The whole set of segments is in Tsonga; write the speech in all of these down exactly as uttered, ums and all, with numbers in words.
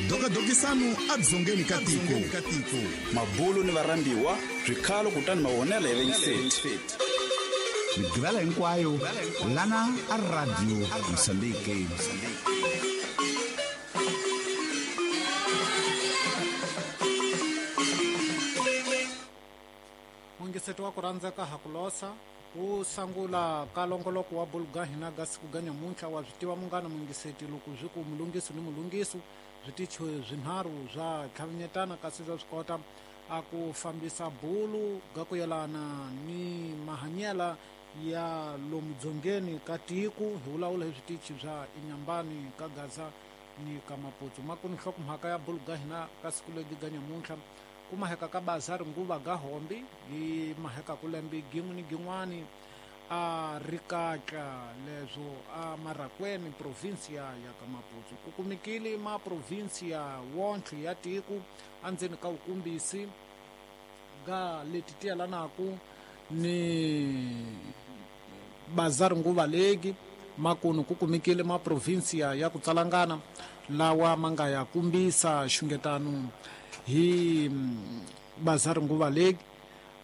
Dokadokisano adzongeni ka tiko. Mabulu ni varhambiwa swikhalo kutani mavonelo ya vayingiseri. Migqivela hinkwayo lana a Radio Mozambique. Mungiseto wa ku rhandzeka ha ku losa ku sangula ka longoloko wa buluga hina ga siku ga nyamuntlha wa swi tiva munghana mungiseti loko swi ku mulungisi ni mulungisi switichi swinharhu swa tlhavinyetana kasi swa swi kota a ku fambisa bulu ga ku yelana ni mahanyela ya lomu dzongeni ka tiko hi vulavula hi switichi swa Inyambani ka Gaza ni ka Maputo. Makuni nhlokomhaka ya bulu ga hina ka siku legi ga nyamuntlha ku maheka ka bazari nguva ga hombi hi maheka ku lembe gin'we ni gin'wani a rikatla leswo a Marakweni provinsia ya ka Maputo ku kumekile ma provinsia wontlhe ya tiko andzeni ka wukumbisi ga leti ti yelanaku ni bazari nguva legi makunu ku kumekile ma provinsia ya ku tsalangana lawa ma nga ya kumbisa xungetano hi bazari nguva legi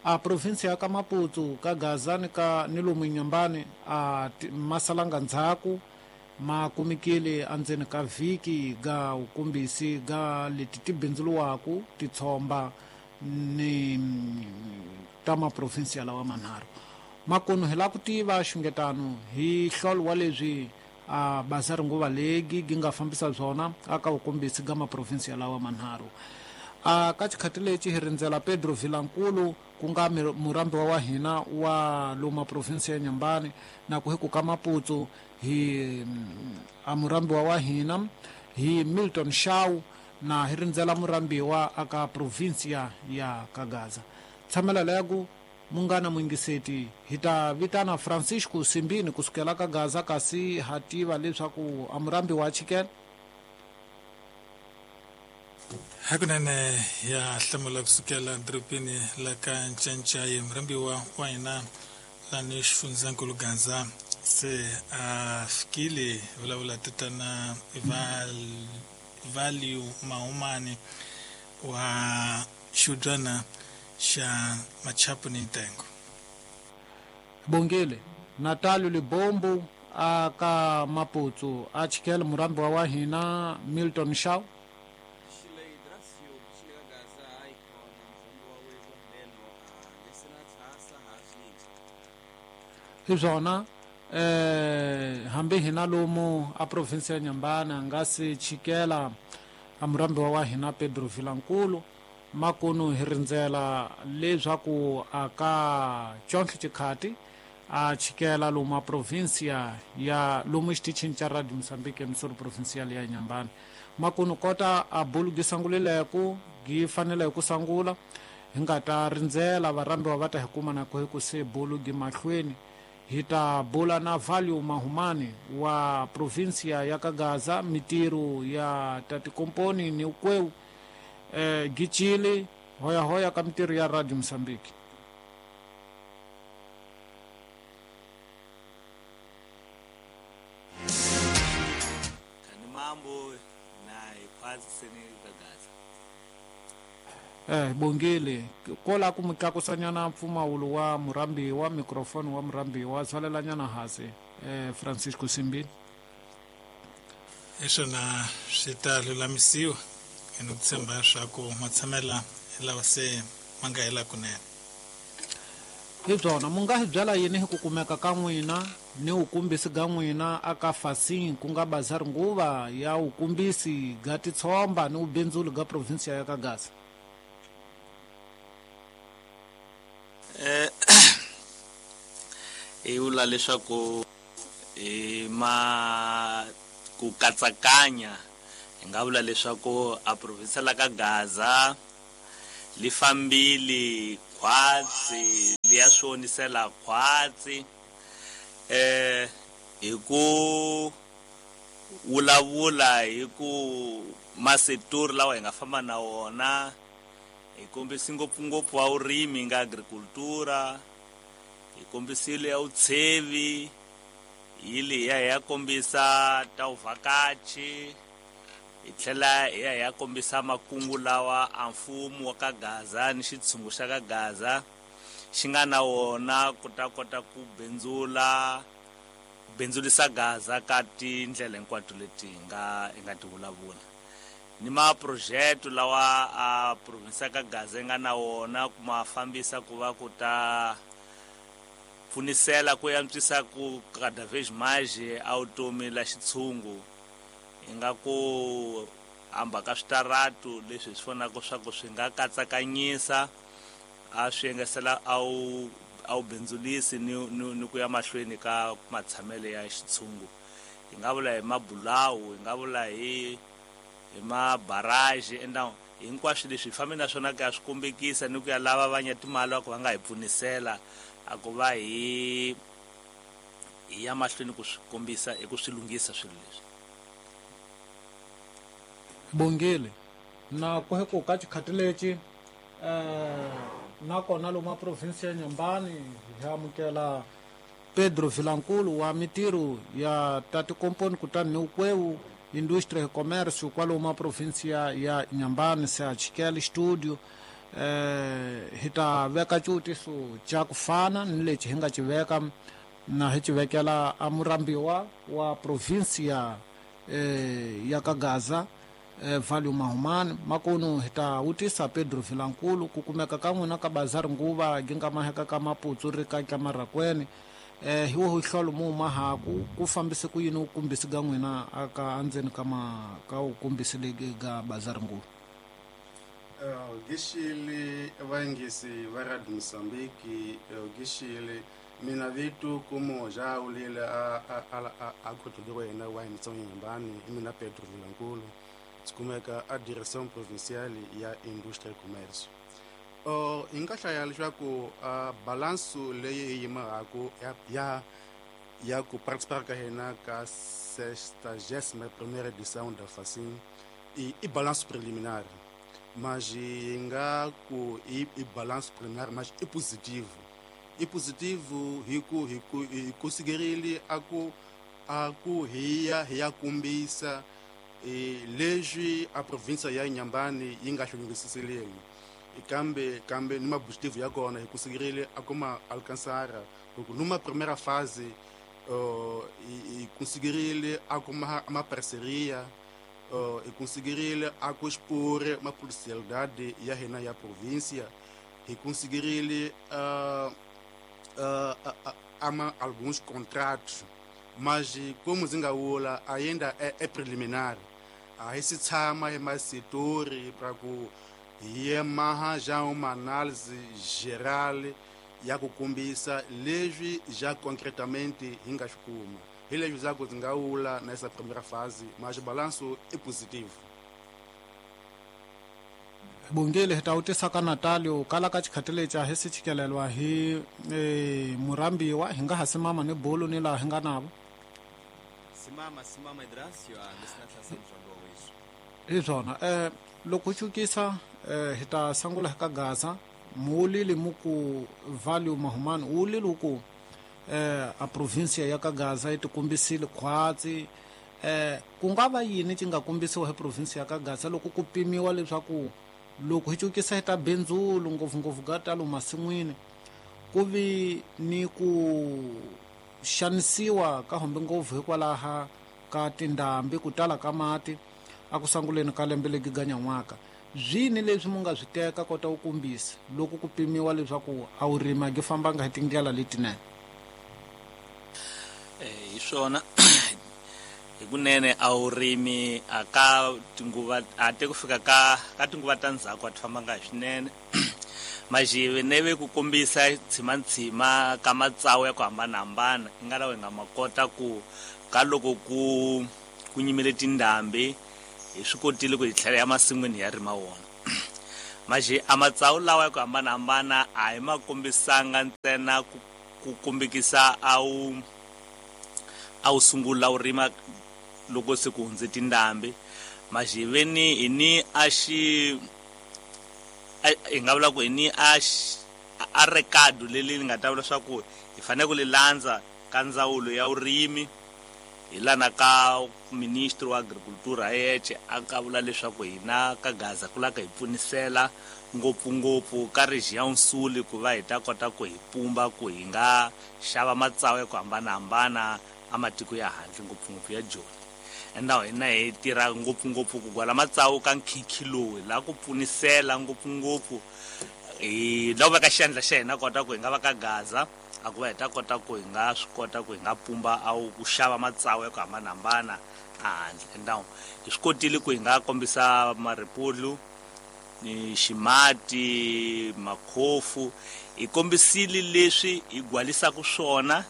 a provinsia ya ka Maputo ka Gaza ni ka ni lomu Inyambani a masalanga ndzhaku ma kumekile andzeni ka vhiki ga wukumbisi ga leti ti bindzuluwaku titshomba ni ta maprovinsia lawa manharhu. Makunu hi lava ku tiva xungetano hi hlolo wa leswi a bazari nguva legi gi nga fambisa byona aka wukumbisi ga maprovinsia lawa manharhu. A ka xikhati lexi hi rindzela Pedro Vilankulu ku nga murambiwa wa hina wa loma provinsia ya Nyambani na ku hi ku ka Maputo hi a murambiwa wa hina hi Milton Shaw na hi rindzela murambiwa aka provinsia ya Kagaza. Tshamela leku munghana mungiseti hi ta vitana Francisco Simbini kusukela ka Gaza kasi ha tiva leswaku a murambiwa chikela. Hakunene ya hlamula kusukela dorobeni la ka Ncancai murambiwa wa hina lani xifundzankulu Gaza se a fikile vulavula tatana Value Mahumani wa xiudyana xa Machapu ni Ntengo. Bongile Natalio Libombo aka Maputo a chikela murambiwa wa hina Milton Shaw. Hi swona eh hambi hina lomu a provinsia ya Nyambani a nga se chikela a murambiwa wa hina Pedro Vilankulu makunu hi rindzela leswaku aka chontlhe xikhati a chikela lomu a provinsia ya lomu xitichini xa Radio Mozambique emisoro provincial ya Nyambani. Makunu kota a bulu gi sangulileku gi fanele ku sangula hi nga ta rindzela varhambiwa va ta hi kuma na ku hi ku se bulu gi mahlweni. Hi ta bula na Value Mahumani wa provinsia ya Kagaza mitiru ya tatikomponi ni ukweu eh, gichili hoya hoya ka mitiru ya Radio Mozambique. Kani mambo na ikwazi sene Kagaza. Eh bongile kola ku mutlakusanyana mpfumawulo wa murambiwa microphone wa murambiwa tswalelanyana hase eh Francisco Simbini. Hiswona swi ta lulamisiwa ene ku tshemba leswaku matshamela lawa se ma nga hela kunene. Hi byona mu nga hi byela yini hi ku kumeka ka n'wina ni wukumbisi ga n'wina aka Fasin ku nga bazari nguva ya wukumbisi ga titshomba ni wubindzuli ga provinsia ya ka Gaza? Eh hi vula leswaku hi ma ku katsakanya hi nga vula leswaku a provinsia la ka Gaza li fambile khwatsi li ya swi onisela khwatsi eh hi ku vulavula hi ku maseturi lawa hi nga famba na wona hi kombisi ngopfungopfu wa vurimi nga agricultura hi kombisile ya vutshevi hi liya hi ya kombisa ta vuvhakachi Hi tlhela hi ya hi ya kombisa makungu lawa a mfumo wa ka Gaza ni xitshungu xa ka Gaza xi nga na wona ku ta kota ku bindzula bindzulisa Gaza ka tindlela hinkwato leti hi nga hi nga ti vulavula. Ni ma-project lawa a province ya ka Gaza yi nga na wona ku ma fambisa ku va ku ta pfunisela ku antswisa ku cada vez mais a vutomi la xitshungu. Hi nga ku hamba ka switaratu leswi hi swi vonaka swa ku swi nga katsakanyisa a swi engesela a wu a wu bindzulisi ni, ni, ni ku ya mahlweni ka matshamelo ya xitshungu. Hi nga vula hi mabulawu, hi nga vula hi hi mabaraji, enda hinkwaswo leswi hi fambe na swona ku ya swi kombekisa ni ku ya lava va nya timali va ku va nga hi pfunisela a ku va hi hi ya mahlweni ku swi kombisa hi ku swi lunghisa swilo leswi. Bongile na ku ku ka xikhati lexi eh nakona lomu province ya Nyambani hi amukela Pedro Vilankulu wa mitirho ya tati komponi kutani ni ukwewu industria e comércio kwalomu province ya, ya Nyambani se a chikele studio eh hi ta veka xivutiso xa ku fana ni lexi hi nga xi veka na hi xi vekela a murambiwa wa province ya eh, ya ka Gaza eh, Valio Mahumani. Makunu hi ta vutisa Pedro Vilankulu ku kumeka ka n'wina ka bazari nguva gi nga maheka ka Maputsu ri ka ka Marakweni eh hi wo hlolo mu mahaku ku fambise ku yini u kumbisi ga n'wina aka andzeni ka ma ka u kumbisi legi ga bazari nguva. Uh, gixili vayingisi va Radio Mozambique, uh, gixili mina vitu kumo ja ulile a a a a khotoliwa yena wa Mitsongo Nyambani i mina Pedro Vilankulu sikumeka a Direction Provinciale ya Industria e Comércio. Uh, hi nga hlaya leswaku uh, balansu leyi hi yimahaku ya, ya ya ku participar ka hina ka sextagésima primeira edição da FACIM i, i balanço preliminar, mas hi nga ku i, i balanço preliminar mas i positivo, i positivo hi ku hi ku hi conseguirile a ku a ku hi ya hi ya kombisa e, leswi a province ya Nyambani yi nga hlungisiseleni kambe kambe ni maobjetivo ya kona hi conseguirile a kuma alcançar porque numa primeira fase uh, e, e conseguirile a kuma uma parceria uh, e conseguirile a expor uma potencialidade ya hina ya província e conseguirile uh, uh, uh, ama alguns contratos, mas como zingaula ainda é, é preliminar. Aí se tshama hi masitori para ku hi maha já uma análise geral ya ku kombisa leswi já concretamente hi nga swi kuma. Hi leswi za ku zingaula nessa primeira fase, mas balanço é positivo. Bongile hi ta vutisa ka Natalio kala ka xikhati lexi a hi si chikelelwa hi eh, murambiwa hi nga ha simama ni bulu ni laha hi nga navo. Simama simama Idrasio a lesina mzwando wa wesu. Hi swona eh loko chukisa eh, hi ta sangula ka Gaza muulili muku Valio Mahumani uulili ku eh, a province ya ka Gaza yi tikombisile khwatsi eh, ku nga va yini xi nga kombisiwa hi province ya ka Gaza loko ku pimiwa leswaku loko hi cukisa hi ta bindzulu ngopfungopfu ga ta lomu masin'wini ku vi ni ku xanisiwa ka hombe ngopfu hikwalaha ka tindhambi ku tala ka mati a ku sanguleni ka lembe legi ga nyan'waka. Zwini leswi mu nga swi teka kota ku kombisa loko ku pimiwa leswaku a wu rima gi fambanga hi tindlela letinene? Eh hi swona hikunene a wu rimi a ka tinguva a te ku fika ka ka tinguva ta ndzhaku a ti fambanga hi swinene. Majive neve ku kombisa tshimantsima ka matsawu ya ku hambanahambana i nga lawa hi nga ma kota ku ka loko ku ku nyimile tindhambi hi swi kotile ku hi tlhela ya masin'wini ya rima wona. Maji a matsawu lawa ya ku hambanahambana a hi ma kombisanga ntsena ku ku kombekisa a wu a wu sungula wu rima loko se ku hundze tindhambi. Majiveni hi ni a xi hi nga vula ku hi ni a a recado leli ni nga ta vula swa ku hi fanele ku li landza ka ndzawulo ya vurimi Hi lana ka ministro wa agricultura yeche a ka vula leswaku hina ka Gaza ku laka hi pfunisela ngopfungopfu ka region Sul ku va hi ta kota ku hi pumba ku hi nga xava matsawu ya ku hambanahambana a matiko ya handle ngopfungopfu ya Joni. Enda hina hi tirha ngopfungopfu ku gwala matsawu ka nkhinkhi lowu la ku pfunisela ngopfungopfu hi lava ka xandla xa hina kota ku hi nga va ka Gaza a ku va hi ta kota ku hi nga swi kota ku hi nga pumba a ku xava matsawu ya ku hambanahambana a handle. Enda hi swi kotile ku hi nga kombisa maripulu ni ximati makhofu, hi kombisile leswi hi gwalisaka swona,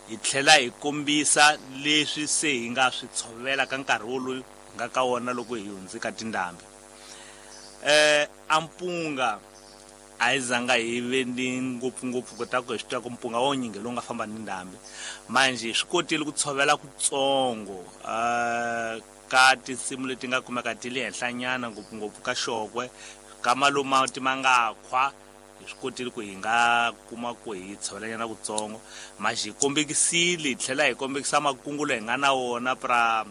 hi tlhela hi kombisa leswi se hi nga swi tshovela ka nkarhi wolowo hi nga ka wona loko hi hundze ka tindhambi. Eh ampunga a hi zanga hi ve ni ngopfungopfu kota ku hi swi tiva ku mpunga wo nyingi lowu nga famba ni ndhambi, manje hi swi kotile ku tshovela kutsongo eh ka tinsimu leti nga kumeka ti le henhlanyana ngopfungopfu ka Xokwe ka maluma ti ma nga khwa, hi swi kotile ku hi nga kuma ku hi tshovelanyana kutsongo. Manje hi kombekisile hi tlhela hi kombekisa makungu leyi hi nga na wona pra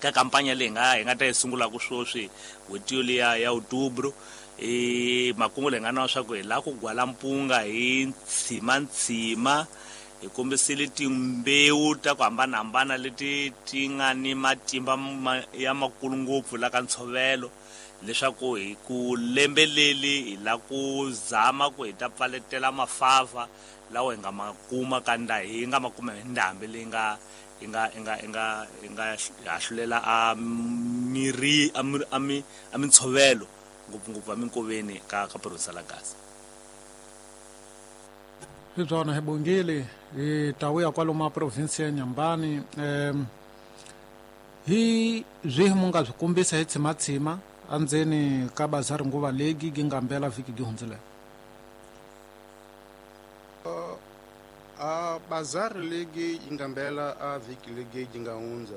ka kampanya leyi nga hi nga ta yi sungulaka sweswi n'hweti yoliya ya Outubro. E makungu leyi nga na swa ku hi lava ku gwala mpunga hi ntshima ntshima, hi kombisile timbewu ta ku hambanahambana leti ti nga ni matimba ya makulu ngopfu la ka ntshovelo leswaku hi ku lembe leli hi la ku zama ku hi ta pfaletela mafava lawa hi nga ma kuma ka nda hi nga ma kuma hi ndhambi leyi nga hi nga hi nga hi nga hi nga hahlulela a miri a mi a mintshovelo ngopfungopfu a minkoveni ka ka province la Gaza. Hi byona hi bongile hi ta vuya kwalomu province ya Nyambani. Um hi swihi mu nga swi kombisa hi tshimatshima endzeni ka bazari nguva legi gi nga mbela vhiki gi hundzile? Uh, a bazari legi yi nga mbela a vhiki legi yi nga hundza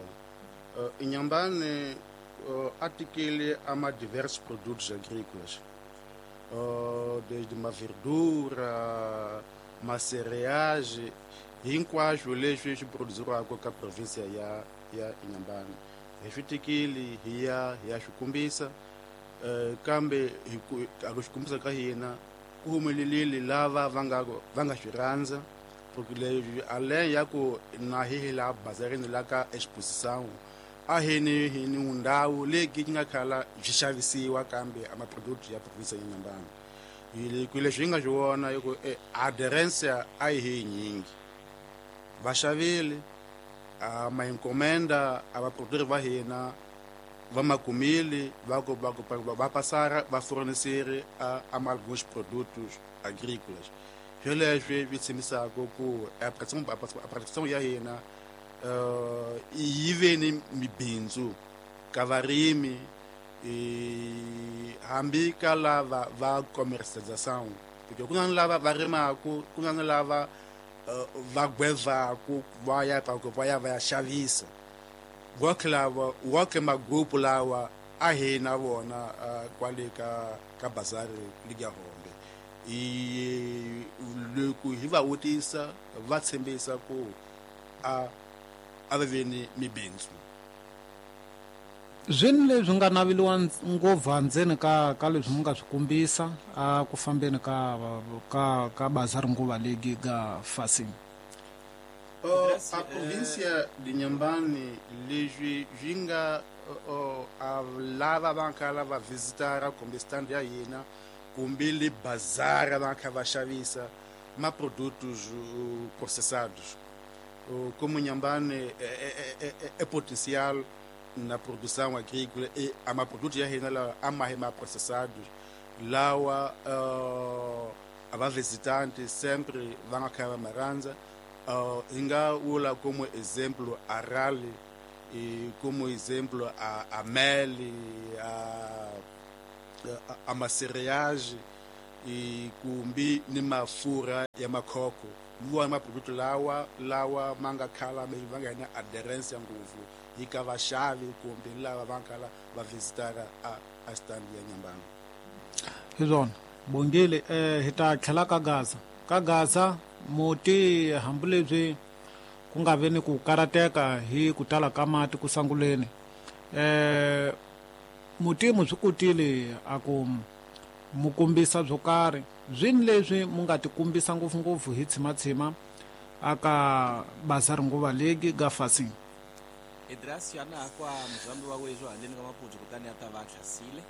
uh, Inhambane uh, atikile ama diversos produtos agrícolas, uh, desde uma verdura, ma cereais, hinkwaswo leswi swi produziriwaka ka provinsia ya ya Inhambane hi swi tikile hi ya hi ya swi kombisa. Uh, kambe hi ku a ku swi kombisa ka hina ku humelelile lava va nga va nga swi rhandza, porque leswi além ya ku na hi hi la bazarini la ka exposição a hi ni hi ni ndhawu leyi yi nga khala byi xavisiwa kambe a maproduct ya provinsia ya Inhambane. Hi ku leswi hi nga swi vona hi ku aderência a yi hi nyingi, va xavile a ma encomenda a vaproductori va hina va ma kumile va ku va ku va passar va fornecer a a alguns produtos agrícolas. Swoleswi swi tshembisaka ku a produção ya hina uh, yi ve ni mibindzu ka varimi hambi ka lava va commercialização, porque ku na lava va rimaku, ku na lava va gwevaku va ya va ya va ya xavisa. Wonke lava wonke magrupu lawa a hi na vona kwale ka ka bazari ligi ya Hombe. I loko hi va vutisa va tshembisa ku a a va ve ni mibindzu. Zwini leswi nga naveliwa ngopfu endzeni ka ka leswi mu nga swi kombisa a ku fambeni ka ka ka bazari nguva legi ga fasini? Uh, a província de Inhambane leswi swi nga uh, a lava va khala va visitara kumbe stand ya hina kumbe le bazara va kha va xavisa ma produtos uh, processados. Uh, como Inhambane é, é, é, é potencial na produção agrícola e a ma produto ya hina lawa a ma hi ma processados lawa uh, a va visitante sempre va nga kha va ma rhandza. Uh, hi nga vula como exemplo a rally, e como exemplo a, a mel, a, a, a macereage e kumbe ni mafurha ya makhoko. Hi maproduto lawa lawa ma nga khala va nga na aderência ngopfu hi ka vaxavi kumbe lava va khala va visitara a, a stand ya Inhambane. Hi swona bongile. Eh, hi ta tlhela ka Gaza ka Gaza muti hambileswi ku nga vi ni ku karateka hi ku tala ka mati ku sanguleni. Eh mutimu swi kotile a ku mu kombisa byo karhi zwini leswi mu nga tikombisa ngopfungopfu hi tshimatshima aka bazari nguva legi ga fasini. Idrasio ana kwa muzambi wa wezo handleni ka Maputo kutani a ta va hlasile.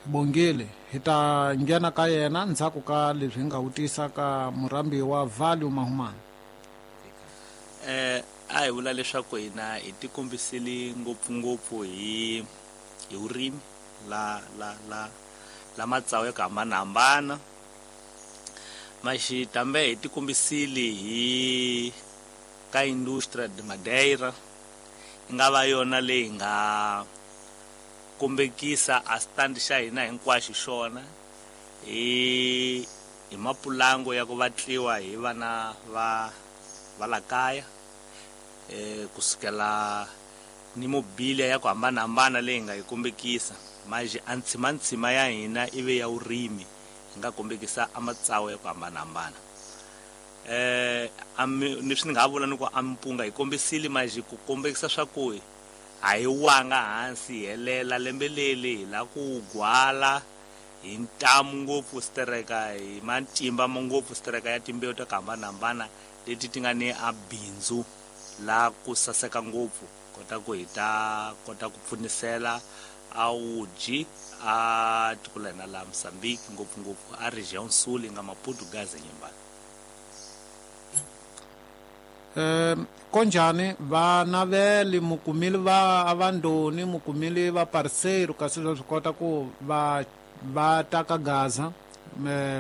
Bongile hi ta nghena ka yena ndzhaku ka leswi hi nga vutisa ka murambi wa Value Mahumani. Eh a hi vula leswaku hina hi tikombisile ngopfungopfu hi hi vurimi la la la la matsawu ya ku hambanahambana. Maxi tambe hi tikombisile hi ka Industria de Madeira yi nga va yona leyi nga kombekisa a stand xa hina hinkwaxo xona hi hi mapulango ya ku vatliwa hi vana va va la kaya eh kusukela ni mobilia ya ku hambanahambana leyi nga yi kombekisa. Maji a ntshima ya hina ive ya vurimi hi nga kombekisa a matsawu ya ku hambanahambana. Eh ni swi ni nga vula ni ku a mpunga hi kombisile maji ku kombekisa swa ku a hi wanga hansi hi helela lembe leli hi la ku gwala hi ntamu ngopfu sitereka hi matimba ngopfu sitereka ya timbewu ta ku hambanahambana leti ti nga ni a bindzu la ku saseka ngopfu kota ku hi ta kota ku pfunisela a wudyi a tiko la hina la Mozambique ngopfungopfu a region sul nga Maputo Gaza Nyembani. Eh konjani va naveli mukumile va avandoni mukumile va parceiro kasi swi kota ku va va ta ka Gaza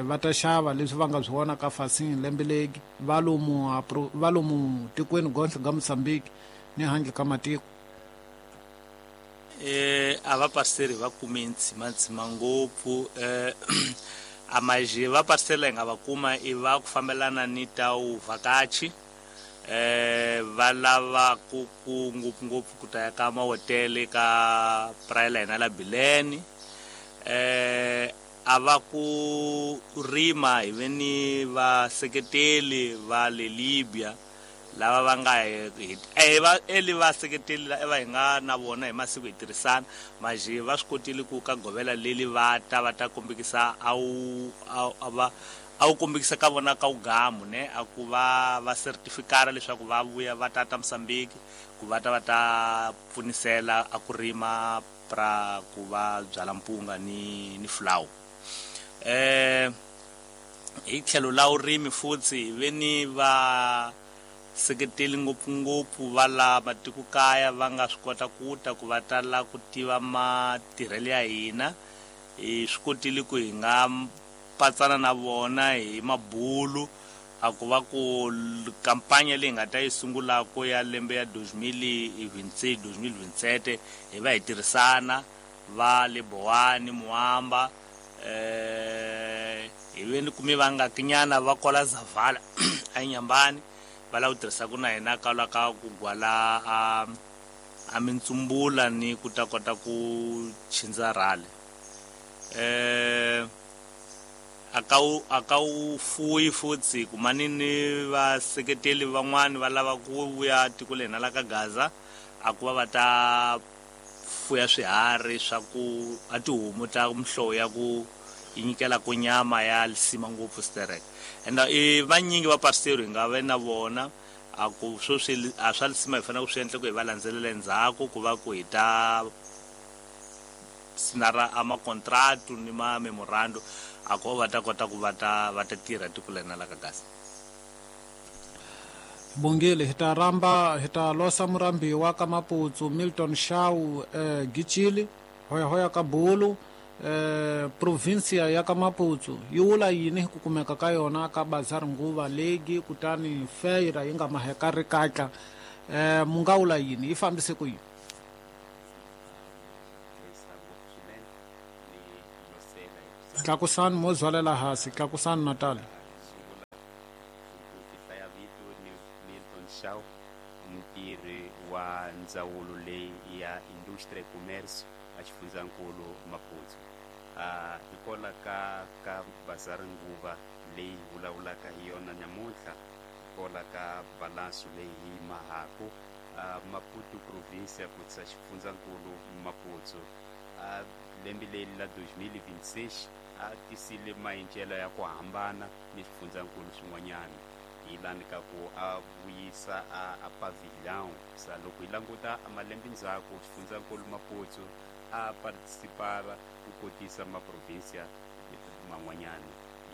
va ta xava leswi va nga swi vona ka fasini lembe legi va lomu va lomu tikweni gontle ga Mozambique ni handle ka matiko. Eh a va parceri va kume ntshima ntshima ngopfu eh a maje va parcela nga va kuma i va ku fambelana ni ta u vhakachi eh va lava ku ku ngopfu ngopfu ku ta ya ka mahotele ka praia la hina la Bilene. Eh a va ku rima hi ve ni vaseketeli va le Libya lava va nga hi va eli vaseketeli va hi nga na vona hi masiku hi tirhisana maje va swi kotile ku ka govela leli va ta va ta kombekisa a wu a va a wu kombekisa ka vona ka ugamu ne a ku va va certificate leswaku va vuya va ta ta Mozambique ku va ta va ta pfunisela a ku rima pra ku va byala mpunga ni ni flower. Eh hi tlhelo la vurimi futhi hi ve ni va seketeli ngopfungopfu va la matikokaya va nga swi kota ku ta ku va ta la ku tiva matirhelo ya hina. Hi swi kotile ku hi nga patsana na vona hi mabulu a ku va ku kampanya leyi nga ta yi sungulaka ya lembe ya deux mille vingt-six deux mille vingt-sept hi va hi tirhisana va le Bowani Muamba eh hi ve ni kume va nga kinyana va kola Zavala a Nyambani va lava ku tirhisaka na hina ka la ka ku gwala a a mintsumbula ni ku ta kota ku chindza rhale. Eh aka wu aka wu fuyi futhi kumani ni vaseketeli van'wani va lava ku vuya tiko le hina la ka Gaza a ku va va ta fuya swiharhi swa ku a tihomu ta mihlovo ya ku yi nyikela ku nyama ya lisima ngopfu sterek. And i vanyingi va parcelo hi nga ve na vona a ku swo swi a swa lisima hi fanele ku swi endla ku hi va landzelela endzhaku ku va ku hi ta sinara a makontratu ni ma memorando a ku va ta kota ku va ta va ta tirha tiko la hina la ka Gaza. Bongile hi ta ramba hi ta losa murambiwa ka Maputo Milton Shau eh, Gichili hoya hoya ka Bulu eh, provincia ya ka Maputo yi wula yini hi ku kumeka ka yona ka bazar nguva legi kutani feira yi nga maheka ri katla eh, mu nga wula yini yi fambise ku yini? Tlakusani mo zwalela hansi tlakusani Natal. Shaw mutirhi wa ndzawulo leyi ya Industria e Commerce a xifundzankulu Maputo. Uh, hikola ka ka bazari nguva leyi vulavulaka hi yona namuntlha Kola ka balanço leyi hi mahaku uh, Maputo província kutsa xifundzankulu Maputo uh, lembe leri la twenty twenty-six a tisile maendlelo ya ku hambana ni swifundzankulu swin'wanyana hi lani ka ku a vuyisa a, a pavilhão sa loko hi languta malembe ndzhaku xifundzankulu Maputo a participara ku kotisa maprovinsia man'wanyana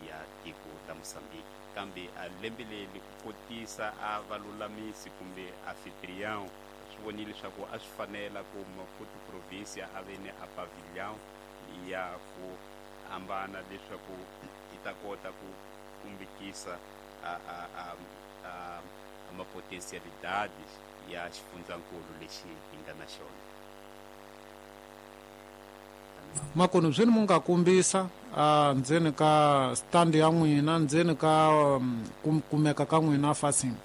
ya tiko la Mozambique kambe a lembe leri ku kotisa a valulamisi kumbe anfitrião swi vonile leswaku a swi fanela ku Maputo província a ve ni a pavilhão ya ku hambana leswaku yi ta kota ku kumbekisa a a a a a mapotencialidades ya xifundzankulu lexi hi nga na xona. Makunu byi ni mu nga kombisa a ndzeni ka stand ya n'wina ndzeni ka um, kumeka ka n'wina fasini.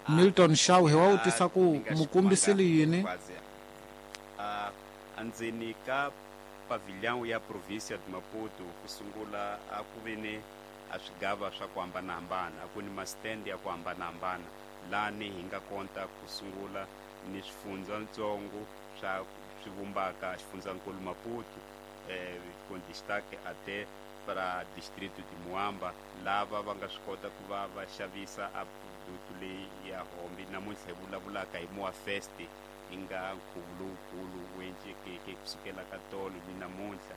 Milton Shaw hi wa vutisa ku mukombisile yini? Andzeni ka pavilhão ya província de Maputo ku sungula a ku ve ni a swigava swa ku hambanahambana a ku ni ma-stand ya ku hambanahambana lani hi nga konta ku sungula ni swifundzatsongo swa swi vumbaka xifundzankulu Maputo eh, con destaque até para distrito de Moamba lava va nga swi kota ku va va xavisa a produto leyi ya hombi namuntlha hi vulavulaka hi Moa Fest yi nga nkhuvo lowukulu wu endlekeke kusukela ka tolo ni namuntlha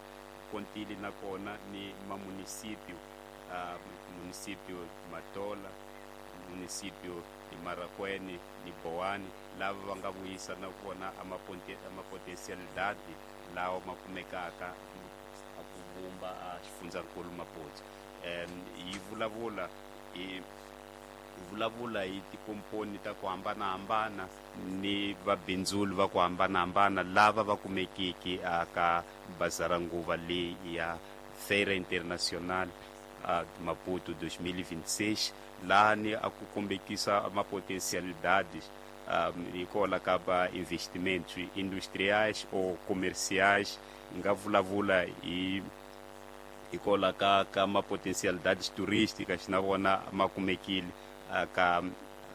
kontile nakona ni mamunicipio uh, municipio Matola municipio ni Marakwene ni Boane lava va nga vuyisa na vona amapotentialidade lawa ma kumekaka a ku vumba a xifundzankulu Maputo um yi vulavula hi vulavula hi tikomponi ta ku hambanahambana ni vabindzuli va ku hambanahambana lava va kumekiki aka bazara nguva leyi ya Feira Internacional a Maputo dois mil e vinte e seis lani a ku kombekisa mapotencialidades um, hikola ka va investimentos industriais ou comerciais nga vulavula hi hikola ka ka mapotencialidades turísticas na vona ma kumekile aka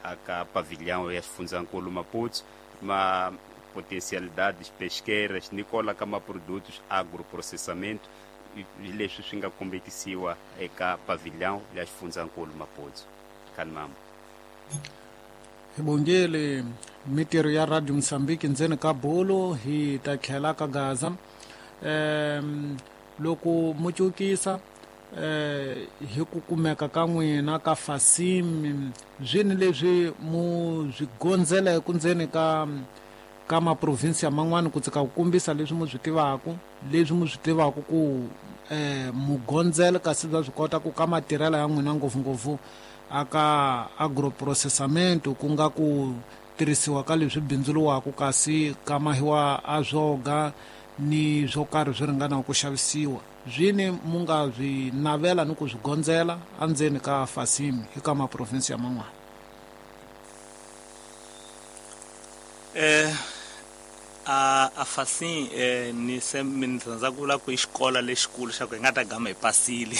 aka pavilhão ya xifundzankulu Maputo ma potencialidades pesqueiras nikola ka ma produtos agroprocessamento leswi swi nga kombekisiwa eka pavilhão ya xifundzankulu Maputo. Kanimambo hi bongele mitirho ya Radio Mozambique ndzeni ka bolo hi ta tlhela ka Gaza um loko mu cukisa eh hi ku kumeka ka n'wina ka Fasim zwini leswi mu swi gondzeleke ndzeni ka ka maprovinsia man'wana ku tsika ku kombisa leswi mu swi tivaka leswi mu swi tivaka ku eh mu gondzela kasi bya swi kota ku ka matirhelo ya n'wina ngopfungopfu aka agroprocessamento ku nga ku tirhisiwa ka leswi bindzuriwaka kasi ka mahiwa a swoga ni swo karhi swi ringana ku xavisiwa zwini mu nga swi navela ni ku swi gondzela endzeni ka Fasim eka maprovinsi ya man'wana. Eh a a Fasim eh ni se mi rhandza ku vula ku i xikolo lexikulu xa ku hi nga ta gama hi pasile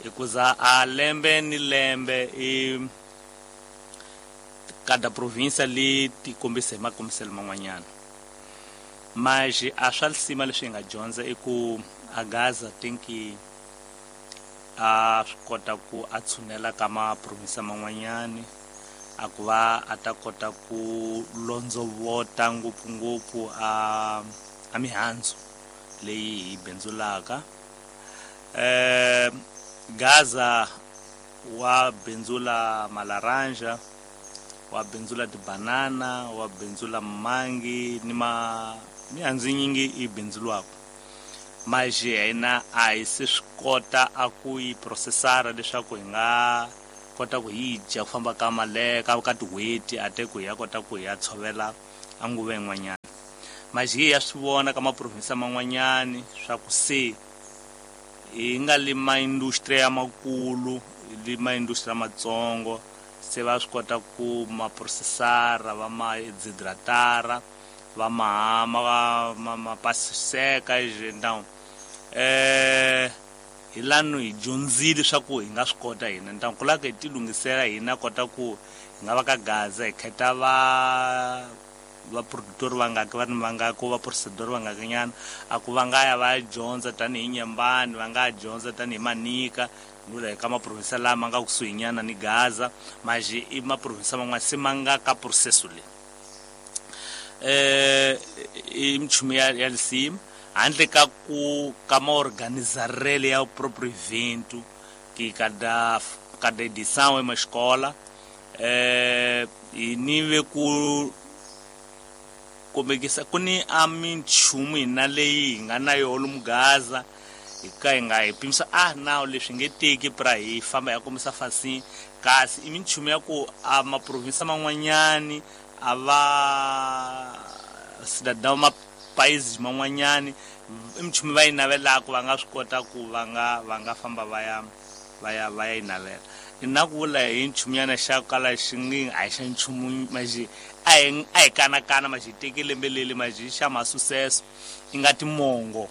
hikuza a lembe ni lembe i kada provinsia li ti kombisa hi makombiselo man'wanyana mas a swa lisima leswi hi nga dyondza i ku a Gaza tinki a swi kota ku a tshunela ka maprovinsia man'wanyani a ku va a ta kota ku londzovota ngopfungopfu a a mihandzu leyi hi bindzulaka eh Gaza wa bindzula malaranja wa bindzula tibanana wa bindzula mangi ni ma mihandzu nyingi yi bindzuriwaka mas hina a hi se swi kota a ku yi processara leswaku hi nga kota ku yi dya ku famba ka male ka ka tin'hweti a te ku hi ya kota ku hi ya tshovela a nguva yin'wanyana mas hi ya swi vona ka maprovinsi man'wanyani swa ku se hi nga le maindustry ya makulu le maindustry matsongo se va swi kota ku ma processara va ma dehydratara va Mahama va Mapaseka então eh hi lano hi dyondzile swa ku hi nga swi kota hina então ku lava ku hi ti lunghisela hina kota ku hi nga va ka Gaza hi khetha va va productor va nga va va nga ku va procedure va nga nyana a ku va nga ya va dyondza tanihi Nyambani va nga dyondza tanihi Manika nula ka maprovinsa lama nga kusuhi nyana ni Gaza maji i maprovinsa man'wana se ma nga ka processo leyi eh i minchumu ya ya lisimu handle ka ku ka maorganizarele ya próprio evento que cada cada edição é uma escola eh e nive ku kombekisa ku ni a minchumu hina leyi hi nga na yona lomu Gaza hi ka hi nga hi pimisa ah nawu leswi nge teki pra hi famba ya kombisa fasi kasi i minchumu ya ku a maprovinsa man'wanyani a va cidadão ma países man'wanyani i minchumu va yi navelaka va nga swi kota ku va nga va nga famba va ya va ya va ya yi navela na ku vula hi nchumunyana xa kala xi ngi a hi xa nchumu maxi a hi a hi kanakana maxi teki lembe leli maxi xa masucesso i nga timongo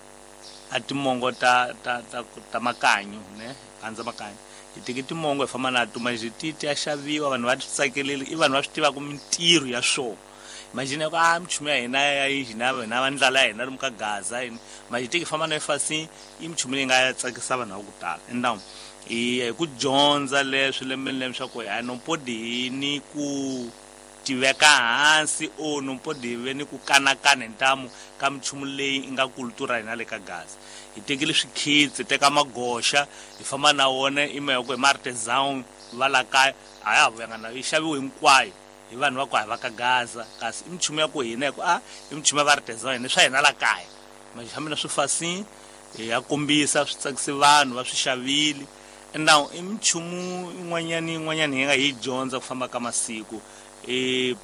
a timongo ta ta ta ta makanyo ne handza makanyo hi teki timongo hi famba na to maxi ti ti ya xaviwa vanhu va ti tsakeleli i vanhu va swi tivaka mintirho ya swona imagine ku a minchumu ya hina ya hina hina va ndlala ya hina lomu ka Gaza yini maxi teki famba na efasini i minchumu leyi nga tsakisa vanhu va ku tala então hi ku dyondza leswi lembe ni lembe swa ku a no pode hi ni ku tiveka hansi o no pode hi ve ni ku kanakana hi ntamu ka minchumu leyi nga kultura hina le ka Gaza hi tekile swikhitsi hi teka magoxa hi famba na wona i mhaka ku hi ma-artisan va la kaya a ya ha vuyanga na yi xaviwe hinkwayo hi vanhu va ku hi va ka Gaza kasi i minchumu ya ku hina hi ku a i minchumu ya va-artisan hina swa hina la kaya ma fambi na swifasini hi ya kombisa swi tsakise vanhu va swi xavile now i minchumu yin'wanyana yin'wanyana hi nga hi dyondza ku famba ka masiku e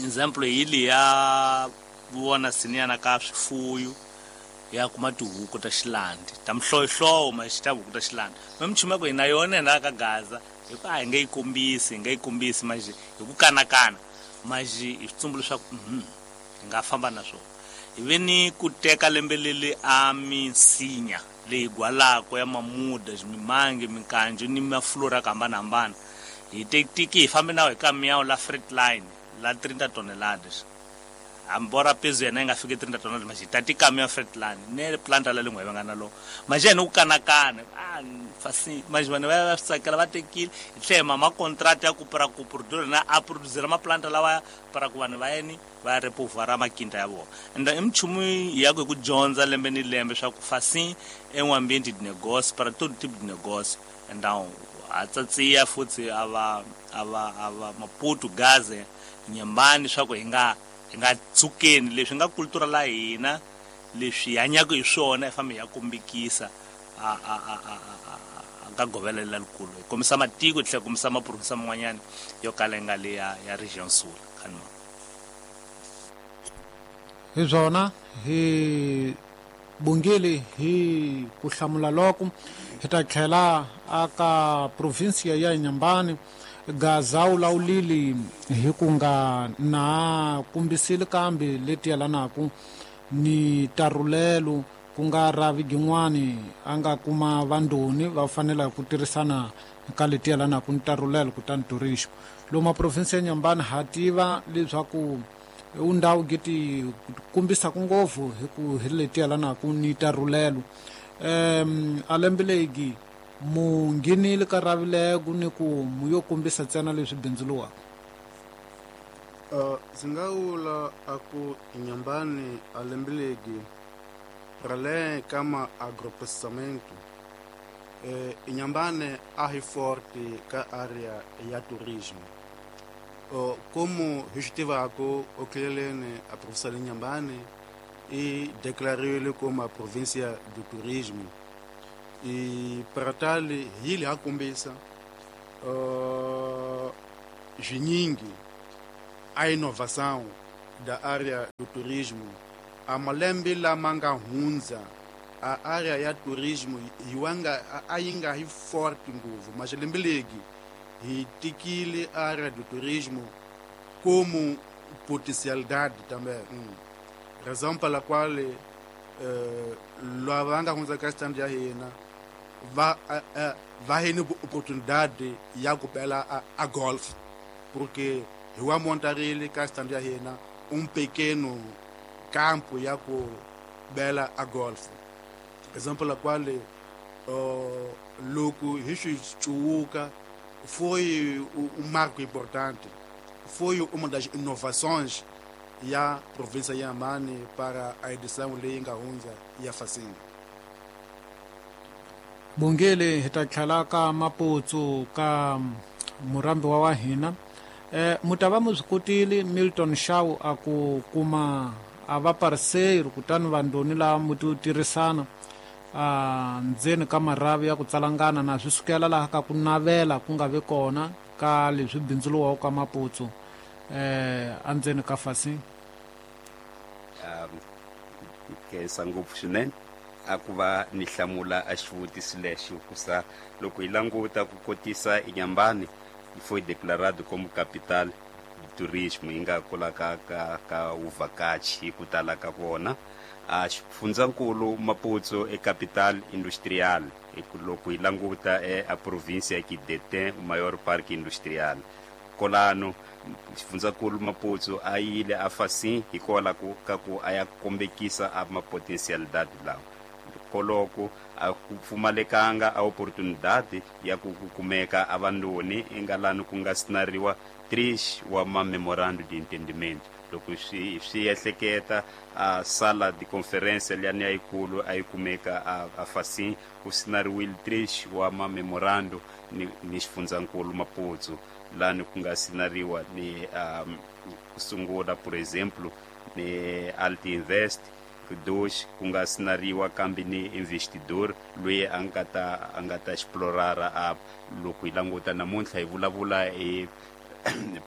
example hi leya vona siniyana ka swifuyo ya kuma tihuku ta xilandi ta mihlovohlovo maxi ta huku ta xilandi ma minchumu ya ku hina yona hina ka Gaza hi ku a hi nge yi kombisi hi nge yi kombisi maxi hi ku kanakana maxi hi switsumbu leswaku hi nga famba na swona hi ve ni ku teka lembe leli a minsinya leyi gwalako ya mamuda mimange minkanjo ni maflora ya ku hambanahambana hi teki hi fambe na hi kamiyawu la freight line la trinta toneladas ambora peso yena yi nga fiki trinta toneladas maxi hi tati kamiya freight line ne planta la lengwe va nga na lo maxi yena ku kanakana a fasi maxi vanhu va va swi tsakela va tekile hi tlhela ma contract ya ku pra ku producer na a producer maplanta lawa para ku vanhu va yeni va repovara makinta ya vona and i minchumu ya ku hi ku dyondza lembe ni lembe swa ku fasi é um ambiente de negócio para todo tipo de negócio então a tsatsiya futhi a va a va a va Maputo Gaza Nyambani swa ku hi nga hi nga tsukeni leswi nga kultura la hina leswi hanyaka hi swona hi fambe hi ya kombekisa a a a a a ka govela lelikulu hi kombisa matiko hi tlhela kombisa maprovinsa man'wanyana yo kala yi nga le ya ya region sul khanma hi swona hi bongile hi ku hlamula loko hi ta tlhela aka provinsia ya Nyambani Gaza wu lawulile hi ku nga na kumbisile kambe leti yelanaku ni tarulelo ku nga ravi gin'wani a nga kuma vandoni va fanela ku tirhisana ka leti yelanaku ni tarulelo kutani turismo lomu maprovinsi ya Nyambani ha tiva leswaku undhawu giti kumbisa ngopfu hi ku hi leti yelanaku ni tarulelo um a lembe legi mu nghenile ka ravileko ni ku mu yo kombisa ntsena leswi bindzuluwaka uh, ndzi nga vula a ku Nyambani a lembe legi ra le ka ma agroprocessamento eh, Inhambane a hi forte ka area ya turismo uh, como hi swi tivaka okeleleni a província de Inhambane e declariwile como a província do turismo e para tal hi le ha kombisa uh, swinyingi a inovação da área do turismo a malembe lama nga hundza a área ya turismo yi wanga a yi nga hi forte ngopfu mas lembe legi hi tikile área do turismo como potencialidade também. Hum. Razão pela qual eh, lava nga hundza ka stand ya hina va uh, va hini oportunidade ya ku bela a, a golf, porque hi wa montarile ka stand ya hina um pequeno campo ya ku bela a golf. Razão pela qual uh, loko hi swi cuwuka foi um marco importante, foi uma das inovações ya província ya Inhambane para a edição leyi nga hundza ya Facim. Bongele hi ta tlhela ka Maputsu ka murambi wa wa hina. Eh, mutava mu swi kotile Milton Shaw a ku kuma a va parceiro kutani vandoni lava mu ti tirhisana a ndzeni ka marhavi ya ku tsalangana na swi sukela laha ka ku navela ku nga vi kona ka leswi bindzuriwaka ka Maputsu eh andzeni ka Facim. Um khensa ngopfu swinene a ku va ni hlamula a xivutiso lexi, hikusa loko hi languta ku kotisa Inhambane foi declarado como capital do turismo yi nga kula ka ka ka uvhakachi hi ku tala ka vona. A xifundzankulu Maputo e capital industrial, loko hi languta e a província que detém o maior parque industrial kolano xifundzankulu Maputo a yile a Facim hikwalaho ku ka ku a ya kombekisa a mapotencialidade lawa koloko a ku pfumalekanga a oportunidade ya ku kumeka a vandoni engalani ku nga sinariwa três wa ma memorando de entendimento. Loko swi swi ehleketa a sala de conferência liyani yikulu a yi kumeka a, a Facim ku sinariwile três wa ma memorando ni, ni xifundzankulu Maputo lani ku nga sinariwa ni um, ku sungula por exemplo ni Alti Invest dois ku nga sinariwa kambe ni investidor loyi a nga ta a nga ta explorara a loko hi languta namuntlha hi vulavula hi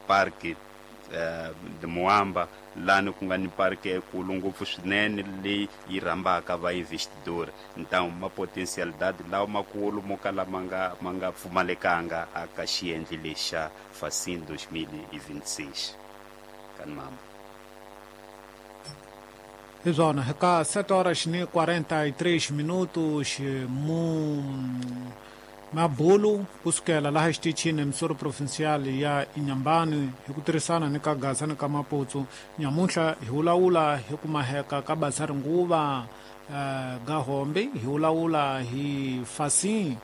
park uh, de Moamba lani ku nga ni park ekulu ngopfu swinene leyi yi rhambaka va investidor. Então ma potencialidade lawa makulu mo kala ma nga ma nga pfumalekanga aka xiendli lexa Facim dois mil e vinte e seis kan mama. Hi swona hi ka sete horas ni quarenta e três minutos mu mabulu kusukela laha xitichini emisoro provincial ya Inhambane hi ku tirhisana ni ka Gaza ni ka Maputo. Nyamuntlha hi vulavula hi ku maheka ka bazari nguva uh, Gahombe, hi vulavula hi Facim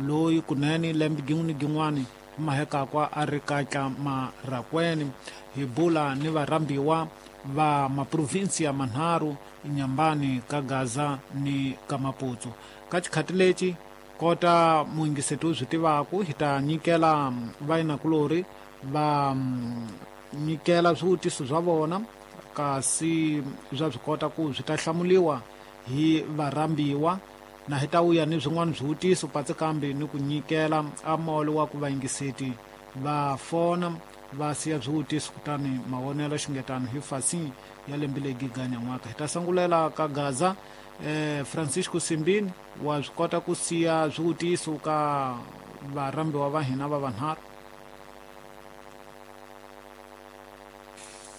loyi kunene lembe gin'we ni gin'wani maheka kwa a ri katla Marracuene. Hi bula ni varhambiwa va maprovinsia manharhu Inhambane ka Gaza ni ka Maputo. Ka xikhati lexi kota muyingiseti u swi tivaku hi ta nyikela vayinakulori va nyikela swivutiso swa vona kasi swa swi kota ku swi ta hlamuliwa hi varhambiwa na hi ta vuya ni swin'wana swivutiso patsi kambe ni ku nyikela a molo wa ku vayingiseti va fona va siya swivutiso kutani mavonelo xingetano hi Facim ya lembe legi ganyan'waka. Hi ta sangulela ka Gaza. Eh, Francisco Simbini wa swi kota ku siya swivutiso ka varhambiwa va hina va vanharhu.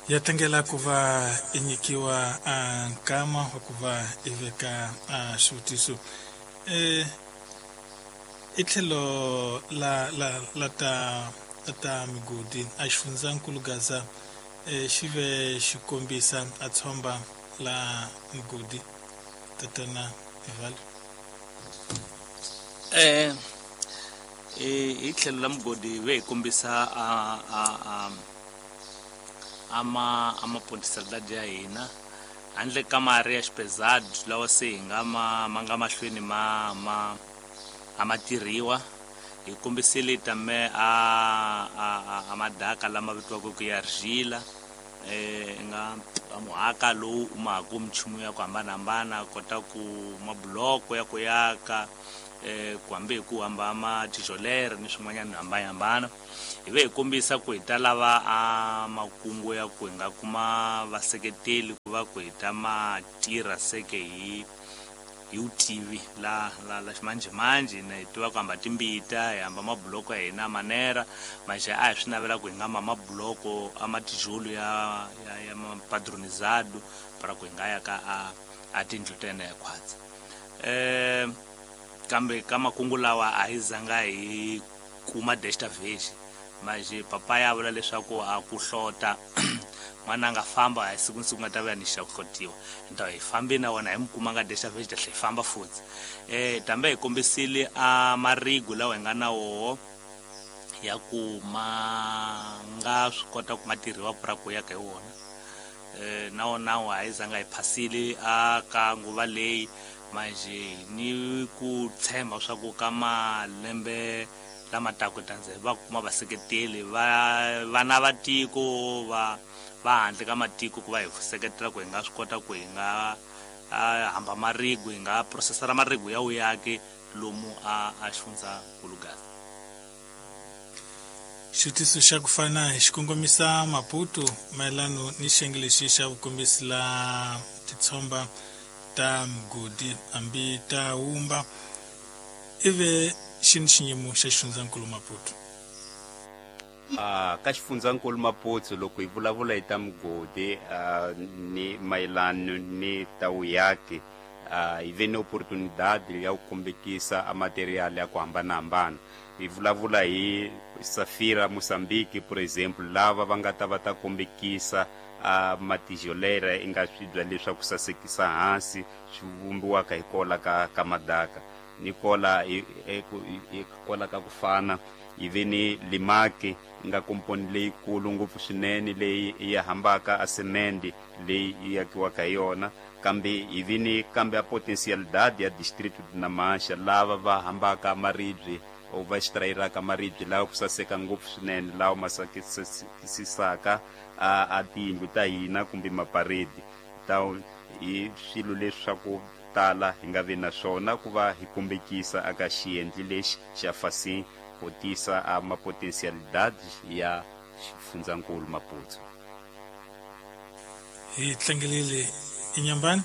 Ya tlangela ku va i nyikiwa a nkama wa ku va i veka a xivutiso eh i tlhelo la la la ta la ta migodi a xifundzankulu Gaza eh xi ve xi kombisa a tshomba la migodi tatana Evaldo. Eh hi tlhelo la mugodi ve hi kombisa a a a ama ama potencialidade ya hina handle ka mari ya xipezado lawa se hi nga ma ma nga mahlweni ma ma a ma tirhiwa. Hi kombisile tame a a a madaka lama vitiwaka ku ya argila eh nga muhaka lowu u maku minchumu ya ku hambanahambana kota ku mabuloko ya ku yaka eh ku hambi hi ku hamba ma tijolere ni swin'wanyana hambanahambana. Hi ve hi kombisa ku hi ta lava a makungu ya ku hi nga kuma vaseketeli ku va ku hi ta ma tirha seke hi hi wu tivi la la la ximanjhemanjhe na hi tiva ku hamba timbita hi hamba mabuloko ya hina manera manje a hi swi navela ku hi nga ma mabuloko a matijolo ya ya ya mapadronizado para ku hi nga ya ka a a tindlu ta hina hi khwatsa eh kambe ka makungu lawa a hi zanga hi kuma desta vez manje papa ya vula leswaku a ku hlota n'wana a nga famba a siku siku nga ta vuya ni xa ku hlotiwa nta hi fambi na wona hi mi kuma nga desta vez ta tlhe hi famba futhi eh tambe hi kombisile a marigu lawa hi nga na woho ya ku ma nga swi kota ku ma tirhiwa pura ku ya ka hi wona eh na wona wa hi zanga hi phasile a ka nguva leyi manje ni ku tshemba swa ku ka malembe lama taka tanze va kuma vaseketeli va vana va tiko va va handle ka matiko ku va hi seketela ku hi nga swi kota ku hi nga hamba marigu hi nga processara marigu ya uyaki lomu a a xifundza Gaza. Xivutiso xa ku fana hi xikongomisa Maputo mayelano ni xiyenge lexi xa vukombisi la titshomba ta migodi hambi ta wumba ive xini xiyimo xa xifundzankulu Maputo? Ah ka xifundzankulu Maputo loko hi vulavula hi ta migodi uh, ni mayelano ni ta vuyaki uh, hi ve ni oportunidade ya ku kombekisa a material ya ku hambanahambana. Hi vulavula hi Safira Mozambique por exemplo lava va nga ta va ta kombekisa a matijolera i nga swibya leswaku sasekisa hansi swi vumbiwaka hi kola ka ka madaka ni kola hi kola ka ku fana hi ve ni limaki nga komponi leyikulu ngopfu swinene leyi yi hambaka a semende leyi yi akiwaka hi yona kambe hi ve ni kambe a potencialidade ya distrito de Namancha lava va hambaka maribye o va extrairaka maribye lawa ku saseka ngopfu swinene lawa ma sasekisaka a a tiyindlu ta hina kumbe maparedi ta hi swilo leswaku tala hi nga vi na swona ku va hi kombekisa aka xiendli lexi xa fasin ku tisa a mapotensialidade ya xifundzankulu Maputo. Hi tlangelile Inyambani.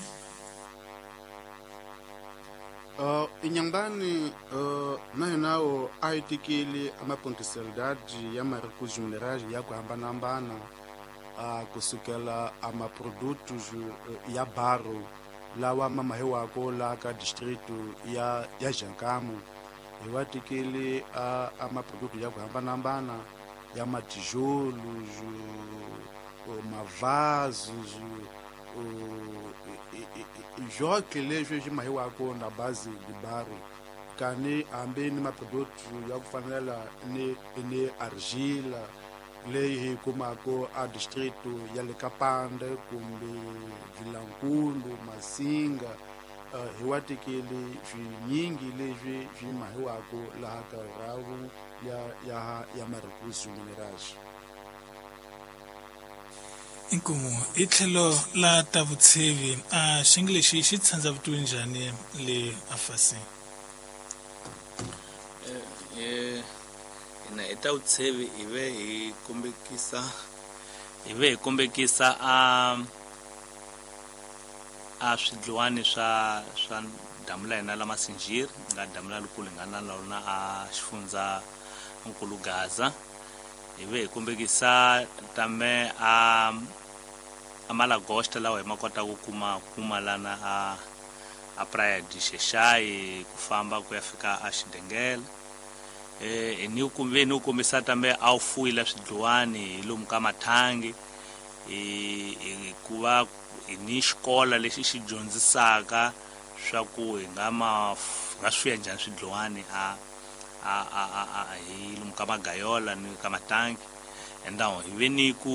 Uh, Inyambani uh, na hina o a hi tekile amapotensialidade ya maricos minerais ya ku hambanahambana uh, kusukela a maprodutos uh, ya barro lawa ma mahiwako la ka distrito ya ya Jankamu. Hi wa tekile a a maproduto ya ku hambanahambana ya matijolos, mavasos, joque leswi swi mahiwako na base de barro kani hambi ni maproduto ya ku fanela ni ni argila leyi hi kumaka a distrito ya le Kapande kumbe Vilankulu Masinga. Uh, hi wa tekile swinyingi leswi swi mahiwako laha ka ravu ya ya ya maricos minerais. Inkomu i tlhelo la ta vutshevi a xiyenge lexi xi tshandza vutomi njhani le afasi? Eh ina hi ta vutshevi hi ve hi kombekisa hi ve hi kombekisa a a swidliwani swa swa damu la hina la Masinjiri nga damu la likulu hi nga na lona a xifundza nkulu Gaza. Hi ve hi kombekisa tame a a malagosta lawa hi ma kota ku kuma kuma lana a a Praia de Xexai ku famba ku ya fika a Xidengele. Eh ni ku ve ni kombisa tambe a wu fuyile swidliwani hi lomu ka mathangi hi ku va ni xikola lexi xi dyondzisaka swa ku hi nga ma nga swi ya njhani swidliwani a a a a hi lomu ka magayola ni ka matangi. Endawo hi ve ni ku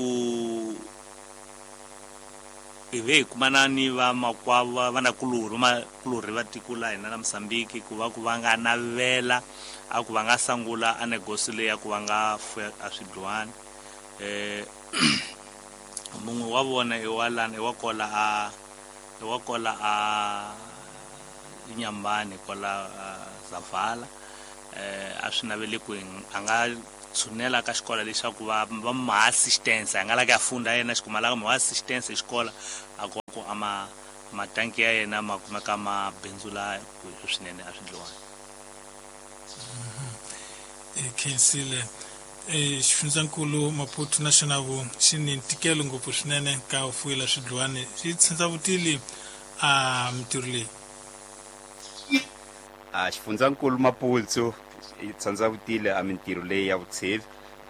hi ve hi kumana ni vamakwavo vanakulorhi makulorhi va tiko la hina la Mozambique ku va ku va nga navela a ku va nga sangula a negosi leyi ya ku va nga fuya a swidliwani. Eh mun'we wa vona i wa lana i wa kola a i wa kola a Inyambani kola Zavala eh a swi naveli ku a nga tshunela ka xikolo leswaku va va ma assistance a nga la ka funda yena xikuma la ma assistance xikolo a ku ku ama Matanki ya yena ma kumeka ma bindzula ku swinene a swidliwani. E khensile e xifundzankulu Maputo National xi ni ntikelo ngopfu swinene ka u fuyela swidliwani xi tshindzavutile a mintirho leyi. A xifundzankulu Maputo yi tsandzavutile a mintirho leyi ya vutshevi.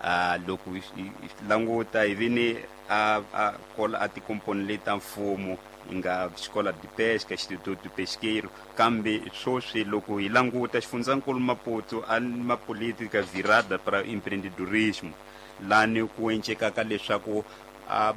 A loko hi languta hi vini a a kola a tikomponi leti ta mfumo yi nga xikola de pesca Instituto de Pesqueiro, kambe sweswi loko hi languta xifundzankulu Maputo a ma política virada para empreendedorismo lani ku encekaka leswaku a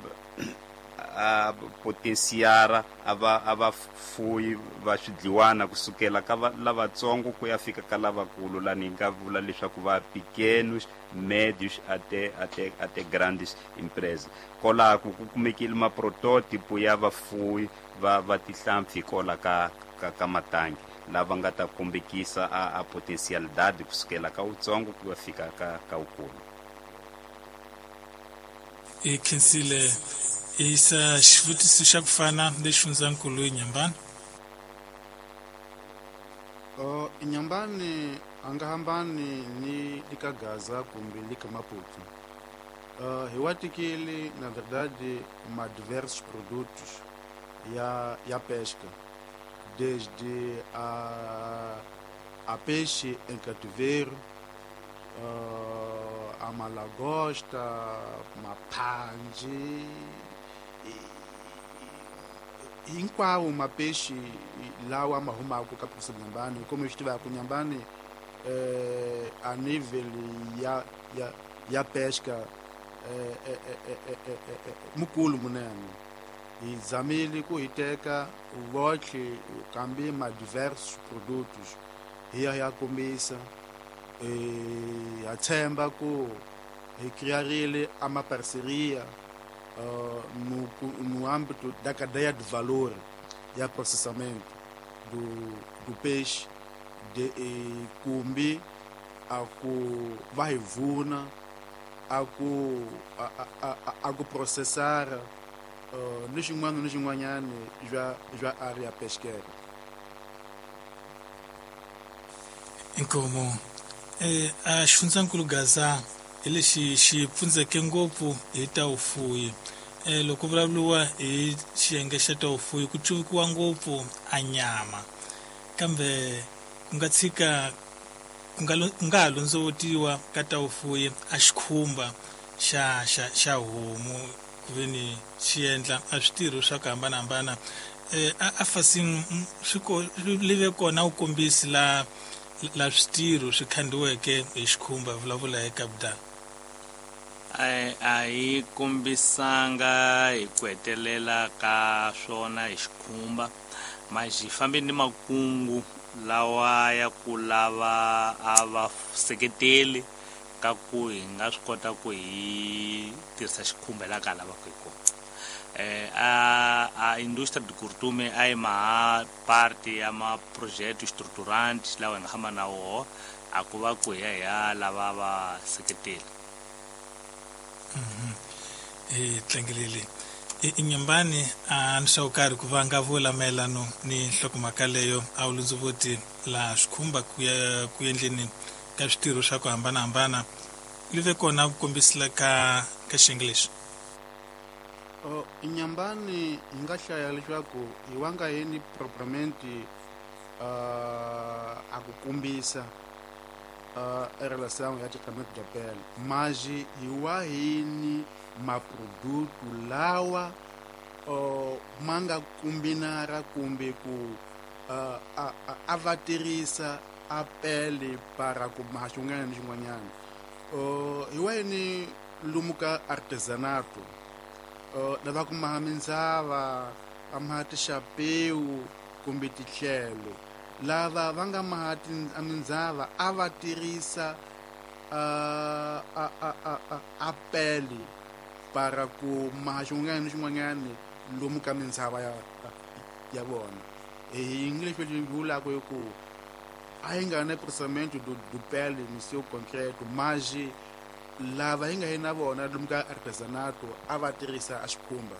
a potensiara a va a va fuyi va swidliwana kusukela ka lavatsongo ku ya fika ka lavakulu lani hi nga vula leswaku va pequenos, médios até até até grandes empresas. Kolako ku kumekile ma protótipo ya vafuyi va va tihlampfi kola ka ka, ka matangi lava nga ta kombekisa a, a potencialidade kusukela ka utsongo ku ya fika ka ka ukulu. E khensile isa xivutiso xa ku fana lexi xifundzankulu Inhambane. Oh, Inhambane a nga hambani ni lika Gaza kumbe lika Maputo. Uh, hi wa tikile na verdade ma diversos produtos ya ya pesca, desde a a peixe em cativeiro, uh, a malagosta, mapanji, hinkwawo mapeixe lawa ma humaka ka province Inhambane. Como eu estive com Inhambane, eh, a nível ya ya ya pesca eh, eh, eh, eh, eh, eh, mukulu munene hi zamile ku hi teka votlhe kambe ma diversos produtos hi ya ya kombisa. Eh, ha tshemba ku hi criarile a ma parceria uh, no, no âmbito da cadeia de valor e processamento do, do peixe de eh, kumbi a ku va hi vuna a ku a, a, a, a ku processar uh, ni xin'wana ni xin'wanyana bya bya área pesqueira. Inkomo eh a xifundzankulu Gaza hi lexi xi pfundzeke ngopfu hi ta vufuwi. Eh loko vulavuriwa hi xiyenge xa ta vufuwi ku cuvukiwa ngopfu a nyama, kambe ku nga tshika ku nga ku nga ha londzovotiwa ka ta vufuwi a xikhumba xa xa xa homu ku ve ni xi endla a switirho swa ku hambanahambana. Eh a a fasini swi ko live kona wu kombisi la la switirho swi khandiweke hi xikhumba vulavula hi Kabudala. A a yi kombisanga hi ku hetelela ka swona hi xikhumba, mas hi fambe ni makungu lawa ya ku lava a va seketeli ka ku hi nga swi kota ku hi tirhisa xikhumba laha ka lavaka hi kona. Eh a a indústria de curtume a yi maha parte ya ma projeto estruturante lawa hi nga hamba na woho a ku va ku hi ya hi ya lava va seketeli. E tlangelele Inhambane a ni swa karhi ku va nga vula mayelano ni nhlokomhaka leyo a wu lundzuvoti laha swikhumba ku ya ku endleni ka switirho swa ku hambanahambana li ve kona ku kombisela ka ka xiyenge lexi. Oh, Inhambane hi nga hlaya leswaku hi wa nga yini propriamente uh, a ku kombisa uh, em relação ao tratamento da pele, mas hi wa hini maproduto lawa uh, ma nga kombinara kumbe ku uh, a, a, a va tirhisa a pele para ku maha xin'wana ni xin'wanyana. Uh, hi wa yini lomu ka artesanato uh, lava ku maha mindzava va maha tixapewu kumbe titlhelo, lava va nga maha mindzava a va tirhisa uh, a, a, a, a, a pele para ku maha xin'wana ni xin'wanyana lomu ka mindzava ya, ya vona. Hi English leswi vulaka hi ku a yi nga na processamento do, do pele no seu concreto, mas lava hi nga yi na vona lomu ka artesanato a va tirhisa a xikhumba.